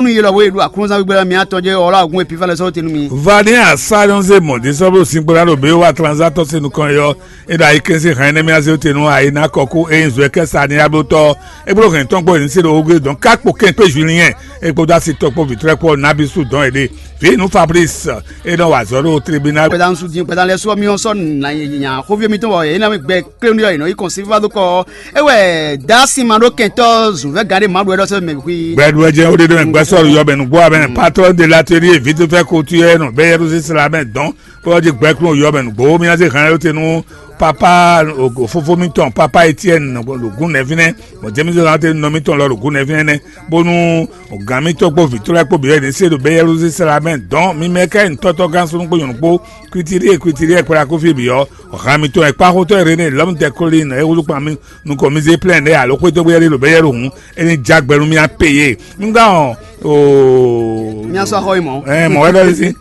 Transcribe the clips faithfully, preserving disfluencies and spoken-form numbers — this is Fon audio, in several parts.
Yelɔ wo e ɖo aklúnzán gbígbɛ́ ɔ́, mi atɔn jɛ ɔlá ògún epifa lɛ sɔ́ te nú mi. Vani asá nyɔ́ zé mɔ̌ ɖé sɔ́ ɖo sin kplá ɖo bě wa tranzá tɔ́ se nukɔn é ɔ́, é ɖo ayikɛ́n sín hɛn énɛ́ mì azé te nú ayé ná kɔ kú é nyí zɔ̌ kɛ́ sa ní ablótɔ́ é bló hɛn tɔn kpó é ní se ɖo wógbe dɔn ká kpo kɛn kpé Julien é kpódó asi tɔn kpó vǐtrɛ́ kpó nabí sú dɔn é ɖe. Vǐ nú Fabrice é nɔ wa azɔ̌ ɖo tribunal. Kpɛdán su dín kpɛdán lɛ́ɛ sú ɔ́, mì ɔ́ sɔ́ nǎ nya xóví mì tɔn wɔ é ná mì gbɛ kléwún ɖi ɔ́, è nɔ yí kɔn sífá dó kɔ ɔ́. É wɛ Dǎ sin ma ɖó kɛntɔ́ zǔnvɛ́ gǎn ɖé Mawu ɖɔ é ɖɔ sɛ́ mɛ xwí. Gbɛɖuwɛjɛ ó ɖe ɖɔ gbɛsɔ́ yɔ mɛ nǔgbó amɛ patron de l'atelier vite fait couture nɔ bɛ Yerusalem dɔn bó ɔ́ jí gbɛkún yɔ mɛ nǔgbó mì ná zé hɛn ayɔ́ te nú papa fofó mítɔn papa Etienne ɖo gǔn nɛ́ fínɛ́, bɔ James zé hɛn ayɔ́ te nú nɔ mítɔn lɔ ɖo gǔn nɛ́ fínɛ́ nɛ́, bónú gǎn mítɔn kpó vǐ tɔn lɛ́ɛ kpó bǐ wɛ ní se ɖo bɛ Yerusalem dɔn mì mɛ ká nyí tɔ́tɔ́ gán súnnu kpó nyɔ̌nu kpó kwitiɖie kwitiɖie kplá kó fí bǐ ɔ́, han mitɔn e kpáxotɔ́ e René lɔ̌mudɛkólin e wúzú kpan mì nukɔn mi zé plɛ́n ɖɛ́ alo xwétɔ́gbé ɖé ɖo bɛ́yɛ́ ɖo hǔn, é ní já gbɛ nú mì á peyé. Mi gán ɔ oo. Mía sɔ́ xɔ yi mɔ̌. Ɛ mɔ̌ wɛ ɖɔ sí.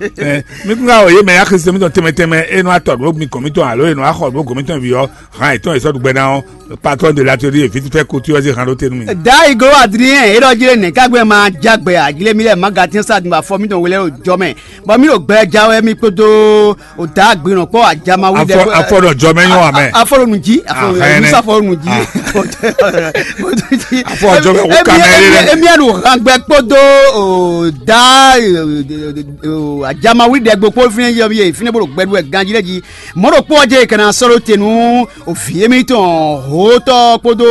Mi kún ká ɔ yě mɛ yá Kristu mitɔn tɛnmɛ tɛnmɛ e nɔ atɔ ɖǒ mi gɔ̌n mitɔn alo e nɔ axɔ ɖǒ gɔ̌n mitɔn bǐ ɔ́, han yětɔn e sɔ́ ɖu gbɛ ná ɔ́, patɔ́n de l'atelier vite fait couture ɔ́ zé han ɖó te nú mi. Dayi glo Adrien e ɖɔ jí lé nɛ̌ ká gbɛn ma já gbɛ ajlé mi lɛ́ɛ ma gatɛ́n sa din afɔ mitɔn we lɛ́ɛ ɖo jɔ mɛ, bɔ mì ɖo gbɛ ja wɛ mi kpódó o da agbinɔ kpɔ ajama wi ɖe. Afɔ ɖɔ jɔ mɛ nyɔ amɛ. Afɔ ɖo nu ji. Afɔ ɖo nu ji. Afɔ jɔ mɛ wo kamɛ ɖe. Emi enu hangbɛ kpódó o da ajama wi ɖe gbokpo fi ne yɔ ye fi ne bolo gbɛdu wɛ ganji lɛ ji. Mɔ ɖo kpɔ jɛ kana sɔlɔ te nu o fi emi tɔn hotɔ kpódó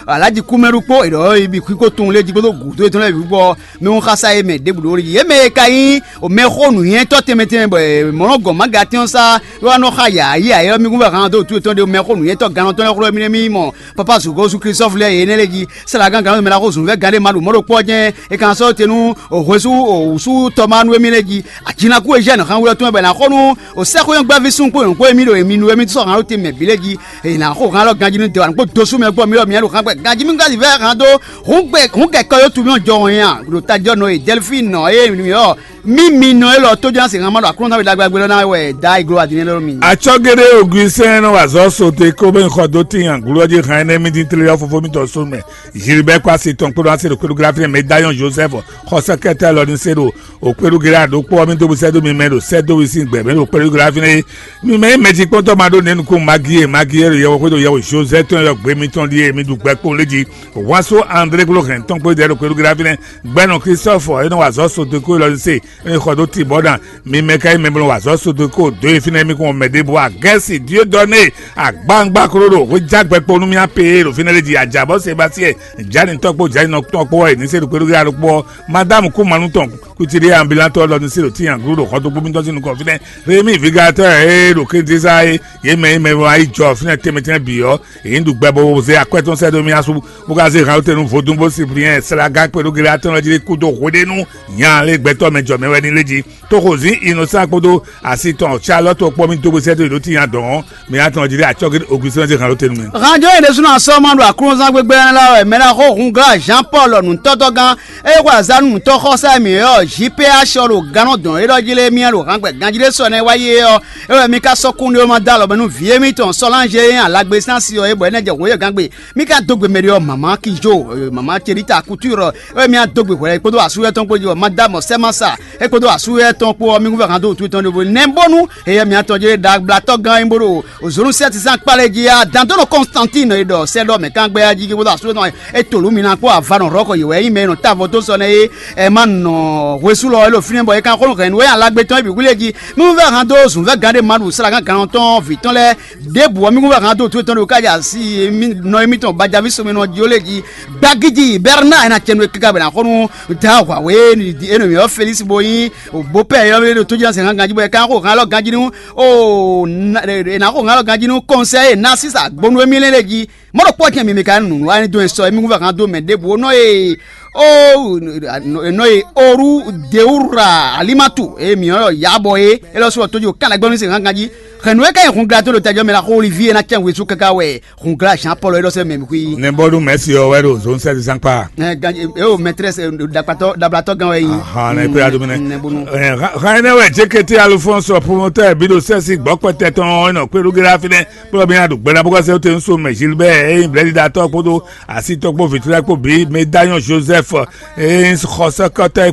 alaji kumɛɖu kpó eɖɔ ibi kiko tun lɛ ji kpódó gudo etɔn lɛ bi kpɔ. Mɛ xasa e mɛ ɖěbǔ ɖó yě mɛ e ka nyí mɛxó nǔnywɛ́tɔ́ tɛnmɛ tɛnmɛ bɔ mɔ̌ nɔ gɔn mágatɛ́n ɔ́ sá, é wá nɔ xa yǎyí ayé ɔ́, mì kún vɛ han dó wútu yětɔn ɖé mɛxó nǔnywɛ́tɔ́ gannɔtɔ́ lɛ́ɛ xlɔ́ mì nɛ́ mì mɔ pápá zǔgɔ́ Yúzu Klísu sɔ́ vlɛ́ yě nɛ́ lɛ́ɛ jí. Sɛ́ la gán gannɔtɔ́ mɛ ná xó zǔn vɛ́ gán ɖé ma ɖo mɔ̌ ɖo kpɔ́ jɛ́n, è ka sɔ́ te nú hwesú wǔsú tɔmánu émí lɛ́ɛ jí. Ajinakú e zɛ́ nǔ xán wú ɔ́ tɔn wɛ bɔ è nǎ xo nú sɛ́xwéyɔ́ngbɛ́ví súnnu kpó nyɔ̌nu kpó émí ɖo èmi nú émí sɔ́ han ɖó te mɛ bǐ lɛ́ɛ jí. È nǎ xo han élɔ́ ganjí nú dɛ̌ wǎ nukpó dó sú mɛ gbɔ mì ɖɔ mǐ ɖo han gbɛ ganjí mì gán vɛ́ han dó. Hǔn gbe hǔn kɛkɔ yó tu mì jɔ hɔn nya ɖo tajɔ nɔ e Dɛlfín nɔ e mì ɔ mì mi nɔ élɔ́ tó ján se han ma ɖo aklúnɔ ná wɛ ɖagbe ɖagbe lɔ ná wɛ da iglo adinɛ lɔ mi. Atsɔ́géɖé Augustin nɔ wa azɔ̌ sote kó bɛ xɔ dó tíin aglú ɔ́ jí han énɛ́ mì dín tlé ɔ́ fofó mítɔn sónú mɛ. Gilbert kpó asi tɔn kpódó asi ɖo kpéɖó gláfínɛ mɛ Dayɔn Joseph xɔ sɛkɛtɛ lɔ ní se ɖo o kpéɖó gérard ɖokpó ɔ́ mì dó bú sɛ́ dó mi mɛ ɖo sɛ́ dó wi sín gbɛ̌ mɛ ɖo kpéɖó gláfínɛ. Mi mɛ nyí mɛjikpɔ́ntɔ́ ma ɖó nɛ̌ nukún Magi e Magi e ɖo yɛhwexó ɖo yɛhwe Jozɛ́ tɔn e ɖɔ gbe mitɔn ɖíe mi ɖu gbɛ kpowun lé jí. Wǎn sú André kpó hɛn tɔn kpó ɖɛ ɖo kpéɖugbe ɖa fínɛ́. Gbɛnɔ Klistɔ́fɔ e nɔ wa azɔ̌ Sodoko élɔ́ se e xɔ dó Tibɔ́dan. Mi mɛ ka nyí mɛ bɔ nɔ wa azɔ̌ Sodoko dó e fínɛ́ mi kún mɛ ɖěbǔ Agɛ́si Diodɔne agbangba klo ɖo hwéjágbɛ kpó nú mì apee ɖo fínɛ́ lé jí ajǎbɔ́ Sebasiyɛn Jani tɔn kpó Jani nɔ tɔn kpó wɛ ní se ɖo kpéɖugbe ɖa ɖokpó ɔ́. Madámu kú manú tɔn kutili ambilantɔ lɔ ní se ɖo tíyan glú ɖo xɔdógbó mitɔn sín nukɔn fínɛ́. Rémi vigatɔ́ e ɖo Klítísa é, yě mɛ e mɛ e wá yi jɔ fínɛ́ tɛnmɛ tɛnmɛ bǐ ɔ́, yě ní ɖu gbɛ bó zé akwɛ́ tɔn sɛ́ dó mì asú, bó ka zé hǎnwútɛnu vodún bó Sipliyɛ́n Slaga kpé ɖó Gileyád tɔn lɔ jí kúdó hweɖénu nya lé gbɛtɔ́ mɛ jɔ mɛ wɛ ní lé jí. Tóxo zǐn Inɔsán kpódó asi tɔn Calɔ́tu ɔ́ kpó mì dó bó sɛ́ dó yě ɖó tínya dɔ̌n ɔ́, mɛ atɔn jí ɖe acɔ́ Ogustín ɔ́ zé hǎnwútɛnu mɛ. Hǎnjó e ɖésúnɔ sɔ́ ma ɖo aklúnɔzán gbégbé lɛ́ɛ lɛ́ɛ wɛ mɛ ná xó hun glá Jean Paul nǔtɔ́tɔ́gán. É xwe azǎn nú nǔtɔ́xɔsá e mǐ ylɔ́ J P A sɔ ɖo gannɔ dɔn é ɖɔ jí lé mì ɖo hǎngbɛ ganjí ɖé sɔ nɛ́ wá yi é ɔ́, é wɛ mi ka sɔ́ kúnɖé ɔ́ ma dó alɔ mɛ nú vǐ émítɔn Sɔláŋ e nyí alagbe sín asi ɔ́ é bɔ é ná jɛ hweyɛ́gán gbe. Mi ka dó gbe mɛ ɖé ɔ́, mama Kijo, mama Celita Couture, é wɛ mi ná dó gbe hwɛ̌ kpódó asúyɛ́ tɔn kpó jí bɔ Madame Sɛmasa é kpódó asúyɛ́ tɔn kpó ɔ́, mi kún vɛ hǎn dó wǔtu tɔn ɖěvo nɛ́ bónú heyɛ́ mǐtɔn jɛ ɖagblátɔ́ gán e bó ɖo Ozonu sɛ́tisán kpá lɛ́ɛ jí á, Dantɔ́nɔ Kɔnstantín e ɖɔ sɛ́ ɖɔ mɛ kán gbɛ́ á jí kpódó asúyɛ́ tɔn é to lǔ mi ná kpó avanɔ hlɔ̌kɔ yě wɛ nyí mɛ e nɔ ta avɔ dó sɔ nɛ́ é, ɛ má nɔ hwesú lɔ é ɖo fínɛ́ bɔ é kan xó nú hɛ̌nnu é alagbe tɔn é bǐ wlí é jí. Mi vɛ́ han dó zǔnvɛ́ gán ɖé ma ɖu slágan gán tɔn vǐ tɔn lɛ́ɛ ɖěbǔ ɔ́, mi vɛ́ han dó tó tɔn ɖo kájà sí mi nɔ émítɔn Bajaví Somɛnɔ Diolé jí. Gbagíji Bɛrná é ná cɛ nú é káká bɔ è nǎ xɔ nú Dǎ Hwǎwé é nɔ mǐ ɔ́ Felísi bó nyí bǒpɛ́ é ɔ́ ɖo tó jí ná sɛn hán ganjí bɔ é kan xó han lɔ ganjí nú ó è nǎ xó han lɔ ganjí nú kɔnsɛ́ e Nasísa gbónú émí lɛ́ɛ lɛ́ɛ jí. Mɔ̌ ɖokpó ɔ́ tɛn mi mi ka nǔnú wa ní dó e sɔ émí kún vɛ hán dó mɛ ɖěbǔ ó nɔ e ó nɔ e oru deura alimatu e mǐ ɔ́ yabɔ é é lɔ sɔ tójú kánlɛ́gbɛ́ ní se hán ganjí. Hɛ̌nnu é ka nyi hun gla tó ɖo tajɔ mɛ la xó Olivíe ná cɛn wezú káká wɛ hun gla Jean Paul é ɖɔ sɛ mɛ mi xwí. Nɛbɔlu mɛsi ɔ́ wɛ ɖo zone sɛti zankpa. Ɛ ganji eo mɛtrɛs dakpatɔ dablatɔ gan wɛ yi. Ahan ne pe adumɛ ne. Nɛbonu. Ɛ ha ene wɛ jekete alufɔnsɔ promotɛ bi ɖo sɛsi gbɔkpɛtɛ tɔn ɔ́ nɔ kpeɖu gera fi nɛ kplɔ mi aɖu gbɛɖa bó kɔsɛ te ŋsu mɛ Gilbert eyin blɛɖiɖatɔ kpodo asitɔ kpo vitula kpo bi Medallion Joseph eyin xɔsɛkɔtɔ kpo